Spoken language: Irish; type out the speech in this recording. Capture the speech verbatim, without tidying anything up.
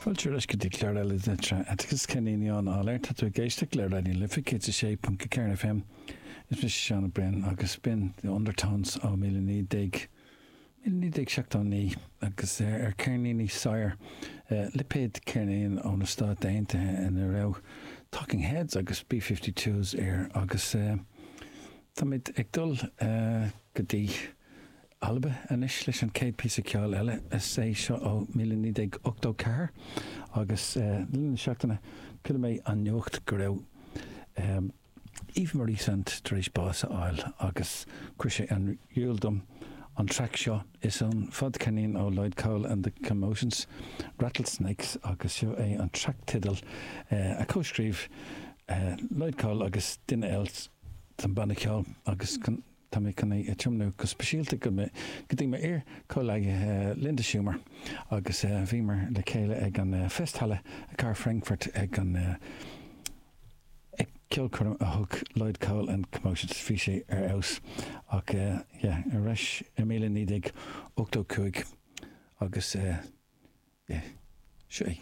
Fáilte ar ais go dtí clár eile de Agus Ceirníní on Áiléar. Tá tú ag éisteacht le Raidió na Life céad a sé ponc a ceathair F M. Is mise Seán Ó Briain agus b'in The Undertones ó míle naoi déag míle naoi déag seachtó naoi agus ar ceirníní Sire, lipéad ceirnín ó na Stáit Aontaithe ina raibh Talking Heads agus B fifty twos air. Agus táimid ag dul go dtí Alba anois leis an chéad phíosa ceoil eile. Is é seo ó míle naoi déag ochtó ceathair agus linn na seachtaine chuala mé an nuacht go raibh Eva Marie Saint tar éis bás a fháil agus chuir sé in iúl dom an traic seo. Is an fadcheirnín ó Lloyd Cole and the Commotions, Rattlesnakes, agus seo é an traic teideal a chomhscríobh Lloyd Cole agus duine eile den bhanna ceoil, agus tá mé chun é a thiomnú go speisialta go go dtí m'iar-chomhghleacaí Linda Schumer, agus bhíomar le chéile ag an Festhalle i gcathair Frankfurt ag an ag ceolchoirm a thug Lloyd Cole and Commotions. Bhí sé ar fheabhas ach yeah, ar ais i míle naoi déag ochtó cúig agus yeah, seo é.